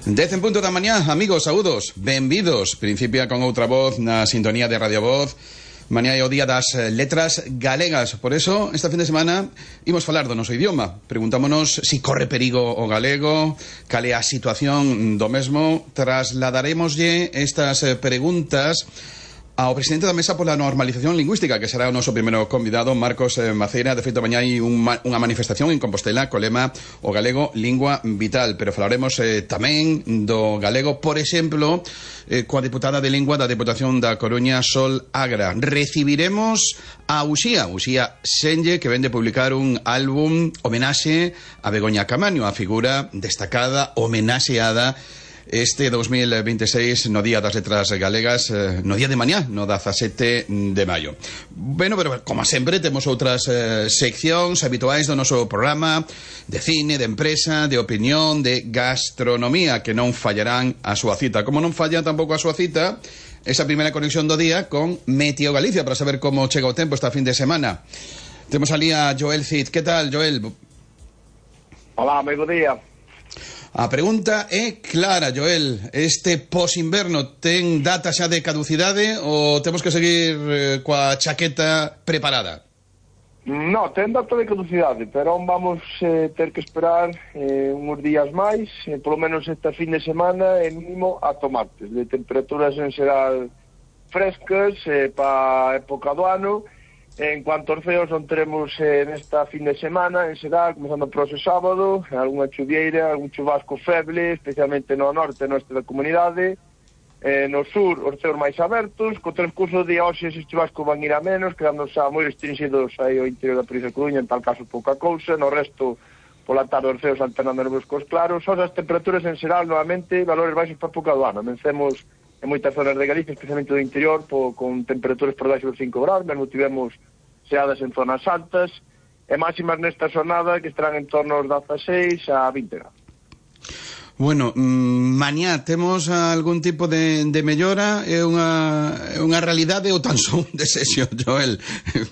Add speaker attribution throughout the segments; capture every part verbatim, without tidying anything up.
Speaker 1: Dez en punto da mañá, amigos, saúdos, benvidos. Principia con outra voz na sintonía de Radio Voz. Mañá é o día das letras galegas. Por eso, esta fin de semana, imos falar do noso idioma. Preguntámonos si corre perigo o galego, cal é a situación do mesmo. Trasladaremoslle estas preguntas ao presidente da Mesa pola Normalización Lingüística, que será o noso primeiro convidado, Marcos Maceira. De feito, mañá hai unha manifestación en Compostela co lema o galego lingua vital, pero falaremos eh, tamén do galego, por exemplo, eh, coa deputada de lingua da Deputación da Coruña, Sol Agra. Recibiremos a Uxía, Uxía Senlle, que vende publicar un álbum homenaxe a Begoña Camaño, a figura destacada, homenaxeada este dos mil veintiséis no Día das Letras Galegas, eh, no día de mañá, no dezasete de maio. Bueno, pero como sempre temos outras eh, seccións habituais do noso programa, de cine, de empresa, de opinión, de gastronomía, que non fallarán a súa cita. Como non falla tampouco a súa cita esa primeira conexión do día con Meteo Galicia, para saber como chega o tempo esta fin de semana. Temos ali a Joel Cid. Que tal, Joel?
Speaker 2: Hola, moi bo día.
Speaker 1: A pregunta é clara, Joel. Este posinverno ten data xa de caducidade ou temos que seguir eh, coa chaqueta preparada?
Speaker 2: No, ten data de caducidade, pero vamos eh, ter que esperar eh, uns días máis, eh, polo menos esta fin de semana, e mínimo ata martes, de temperaturas en xeral frescas eh, para a época do ano. En cuanto aos ceos, non teremos eh, nesta fin de semana, en xeral, comenzando por ese sábado, algunha chuvieira, algún chubasco feble, especialmente no norte, no este da comunidade. Eh, no sur, os ceos máis abertos. Co transcurso de hoxe, eses chubascos van ir a menos, quedando xa moi restringidos aí ao interior da provincia de Coruña, en tal caso pouca cousa. No resto, pola tarde, os ceos alternando nubes cos claros. Son as temperaturas en xeral, novamente, valores baixos para a época do ano. Vencemos en moitas zonas de Galicia, especialmente do interior, po, con temperaturas por debaixo dos cinco graus, mesmo tivemos xeadas en zonas altas, e máximas nesta xornada que estarán en torno aos dezaseis a vinte graus.
Speaker 1: Bueno, mmm, mañá temos algún tipo de, de mellora? É unha, é unha realidade ou tan só un desexo, Joel?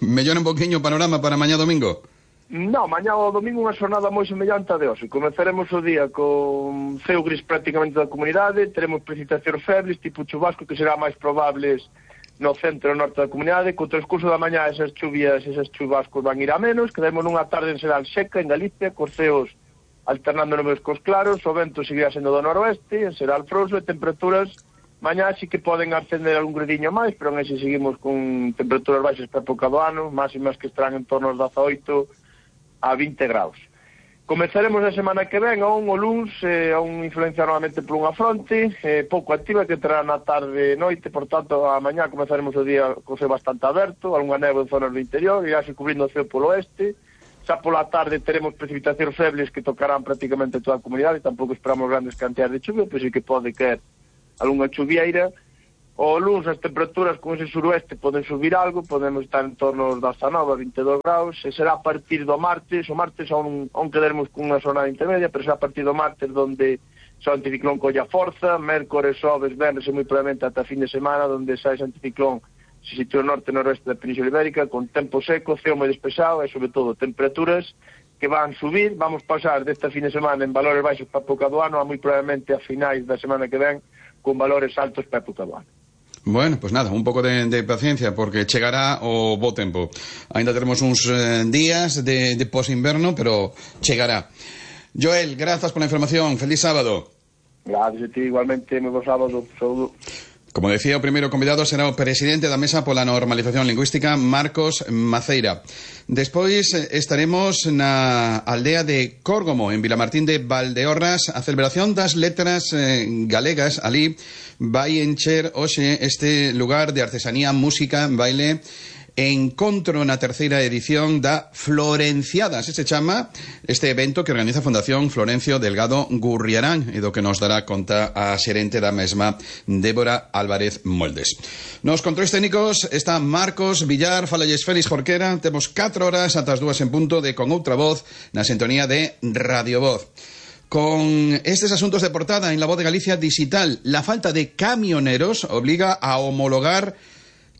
Speaker 1: Mellora un poquinho o panorama para mañá domingo?
Speaker 2: No, mañá o domingo unha xornada moi semellante a de hoxe. Comezaremos o día con ceo gris prácticamente da comunidade, teremos precipitacións febles, tipo chubasco, que será máis probables no centro e norte da comunidade. Co transcurso da mañá esas chuvias, esas chubascos van ir a menos, quedamos nunha tarde en xeral seca en Galicia, cos ceos alternando nubes cos claros, o vento seguirá sendo do noroeste, en xeral frouxo, e temperaturas mañá sí que poden ascender algún gradiño máis, pero en ese seguimos con temperaturas baixas para a época do ano, máximas que estarán en torno aos dezaoito a vinte graus. Comezaremos a semana que ven, aún o luns, eh, aún influencia novamente por unha fronte, eh, pouco activa, que entrará na tarde e noite, por tanto, a mañá comezaremos o día co ceo bastante aberto, algunha neve en zonas do interior, irá se cubrindo o ceo polo oeste. Xa pola tarde teremos precipitacións febles que tocarán prácticamente toda a comunidade, tampouco esperamos grandes cantidades de chuvia, pois sí que pode caer algunha chuvieira. O luns as temperaturas con ese suroeste poden subir algo, podemos estar en torno aos dezanove a vinte e dous graus, e será a partir do martes, o martes aún, aún quedaremos con unha zona intermedia, pero será a partir do martes donde xa o anticiclón colla forza, mércores, xoves, venres e moi probablemente ata fin de semana, donde xa ese anticiclón se sitúa no norte e noroeste da Península Ibérica, con tempo seco, ceo moi despexado e, sobre todo, temperaturas que van subir. Vamos pasar desta fin de semana en valores baixos para a época do ano a moi probablemente a finais da semana que ven con valores altos para a época do ano.
Speaker 1: Bueno, pues nada, un pouco de, de paciencia, porque chegará o bo tempo. Ainda teremos uns eh, días de, de posinverno, pero chegará. Joel, grazas pola información. Feliz sábado.
Speaker 2: Gracias a ti, igualmente, moi bo sábado. Saúdo.
Speaker 1: Como decía, o primeiro convidado será o presidente da Mesa pola Normalización Lingüística, Marcos Maceira. Despois estaremos na aldea de Córgomo, en Vilamartín de Valdeorras. A celebración das letras eh, galegas ali vai encher hoxe este lugar de artesanía, música, baile, encontro na terceira edición da Florenciada, se se chama este evento que organiza a Fundación Florencio Delgado Gurriarán, e do que nos dará conta a xerente da mesma, Débora Álvarez Moldes. Nos controis técnicos está Marcos Villar. Falalles Félix Jorquera. Temos catro horas ata as dúas en punto de Con Outra Voz na sintonía de Radio Voz. Con estes asuntos de portada en La Voz de Galicia Digital, la falta de camioneros obliga a homologar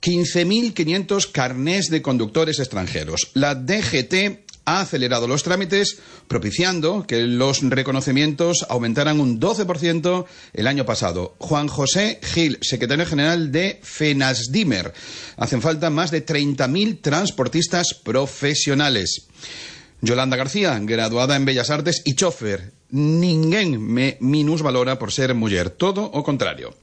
Speaker 1: quince mil quinientos carnés de conductores extranjeros. La D G T ha acelerado los trámites, propiciando que los reconocimientos aumentaran un doce por ciento el año pasado. Juan José Gil, secretario general de FENASDIMER. Hacen falta más de treinta mil transportistas profesionales. Yolanda García, graduada en Bellas Artes y chofer. Ninguén me minusvalora por ser muller, todo o contrario.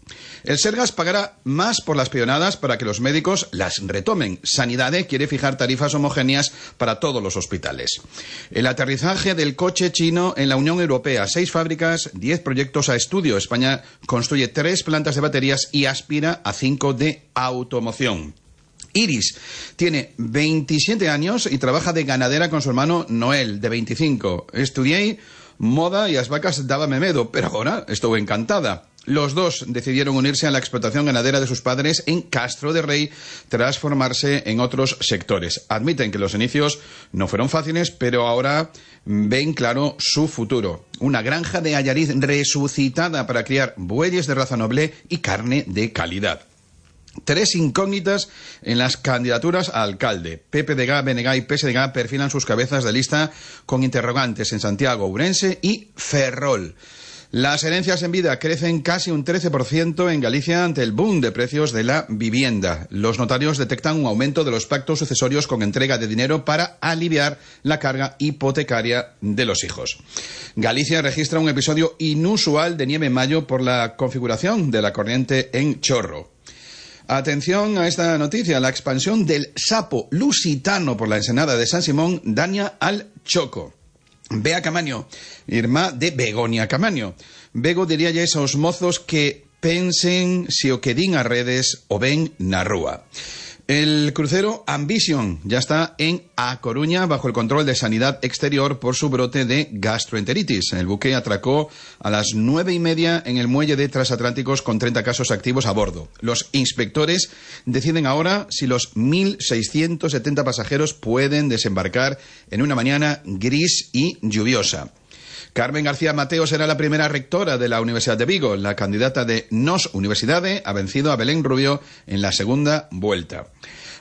Speaker 1: El Sergas pagará más por las peonadas para que los médicos las retomen. Sanidade quiere fijar tarifas homogéneas para todos los hospitales. El aterrizaje del coche chino en la Unión Europea. Seis fábricas, diez proyectos a estudio. España construye tres plantas de baterías y aspira a cinco de automoción. Iris tiene veintisiete años y trabaja de ganadera con su hermano Noel, de veinticinco. Estudié moda y las vacas dábame medo, pero ahora estuve encantada. Los dos decidieron unirse a la explotación ganadera de sus padres en Castro de Rey tras formarse en otros sectores. Admiten que los inicios no fueron fáciles, pero ahora ven claro su futuro. Una granja de Allariz resucitada para criar bueyes de raza noble y carne de calidad. Tres incógnitas en las candidaturas a alcalde. P P D G, B N G y P S D G perfilan sus cabezas de lista con interrogantes en Santiago, Ourense y Ferrol. Las herencias en vida crecen casi un trece por ciento en Galicia ante el boom de precios de la vivienda. Los notarios detectan un aumento de los pactos sucesorios con entrega de dinero para aliviar la carga hipotecaria de los hijos. Galicia registra un episodio inusual de nieve en mayo por la configuración de la corriente en Chorro. Atención a esta noticia. La expansión del sapo lusitano por la ensenada de San Simón daña al Choco. Bea Camaño, irmá de Begoña Camaño. Bego diría ya esos mozos que pensen si o que din a redes o ven na rúa. El crucero Ambition ya está en A Coruña bajo el control de Sanidad Exterior por su brote de gastroenteritis. El buque atracó a las nueve y media en el muelle de Transatlánticos con treinta casos activos a bordo. Los inspectores deciden ahora si los mil seiscientos setenta pasajeros pueden desembarcar en una mañana gris y lluviosa. Carmen García Mateo será la primera rectora de la Universidad de Vigo. La candidata de Nos Universidade ha vencido a Belén Rubio en la segunda vuelta.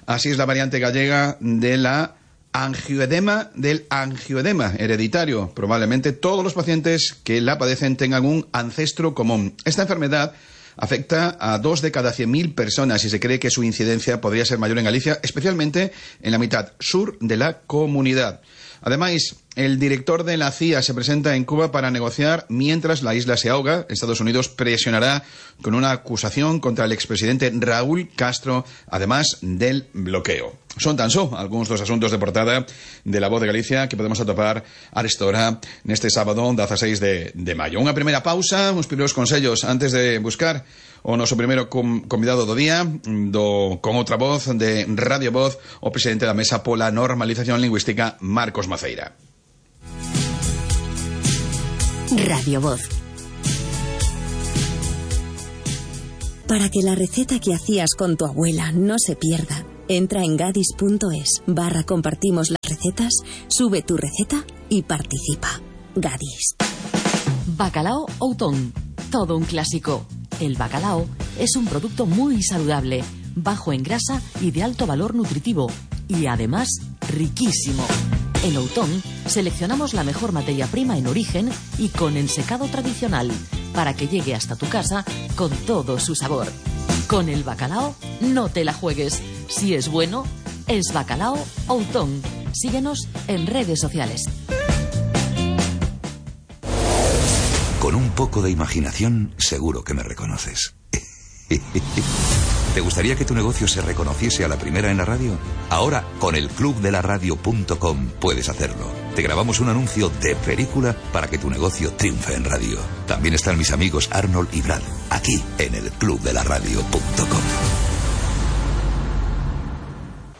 Speaker 1: Así es la variante gallega de la angioedema, del angioedema hereditario. Probablemente todos los pacientes que la padecen tengan un ancestro común. Esta enfermedad afecta a dos de cada cien mil personas y se cree que su incidencia podría ser mayor en Galicia, especialmente en la mitad sur de la comunidad. Además, el director de la C I A se presenta en Cuba para negociar mientras la isla se ahoga. Estados Unidos presionará con una acusación contra el expresidente Raúl Castro, además del bloqueo. Son tan só algunos dos asuntos de portada de La Voz de Galicia que podemos atopar a esta hora neste sábado dieciséis de, de mayo. Unha primeira pausa, uns primeiros consellos antes de buscar o noso primeiro com, convidado do día do, con outra voz de Radio Voz, o presidente da Mesa pola Normalización Lingüística, Marcos Maceira.
Speaker 3: Radio Voz. Para que la receta que hacías con tu abuela no se pierda, entra en gadis.es barra compartimos las recetas, sube tu receta y participa. Gadis.
Speaker 4: Bacalao Outón. Todo un clásico. El bacalao es un producto muy saludable, bajo en grasa y de alto valor nutritivo. Y además, riquísimo. En Outón seleccionamos la mejor materia prima en origen y con ensecado tradicional, para que llegue hasta tu casa con todo su sabor. Con el bacalao no te la juegues. Si es bueno, es Bacalao Outón. Síguenos en redes sociales.
Speaker 5: Con un poco de imaginación, seguro que me reconoces. ¿Te gustaría que tu negocio se reconociese a la primera en la radio? Ahora, con el club de la radio punto com puedes hacerlo. Te grabamos un anuncio de película para que tu negocio triunfe en radio. También están mis amigos Arnold y Brad, aquí en el club de la radio punto com.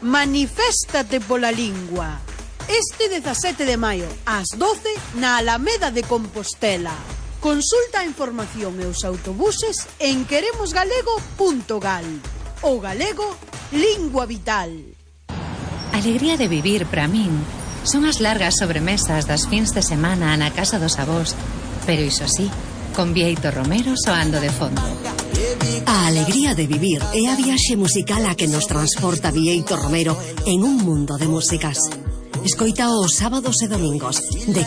Speaker 6: Maniféstate pola lingua. Este dezasete de maio, ás doce, na Alameda de Compostela. Consulta a información e os autobuses en queremosgalego punto gal. O galego, lingua vital.
Speaker 7: Alegría de vivir para min son as largas sobremesas das fins de semana na casa dos avós, pero iso sí, con Bieito Romero soando de fondo.
Speaker 8: A alegría de vivir é a viaxe musical a que nos transporta Bieito Romero en un mundo de músicas. Escoita os sábados e domingos de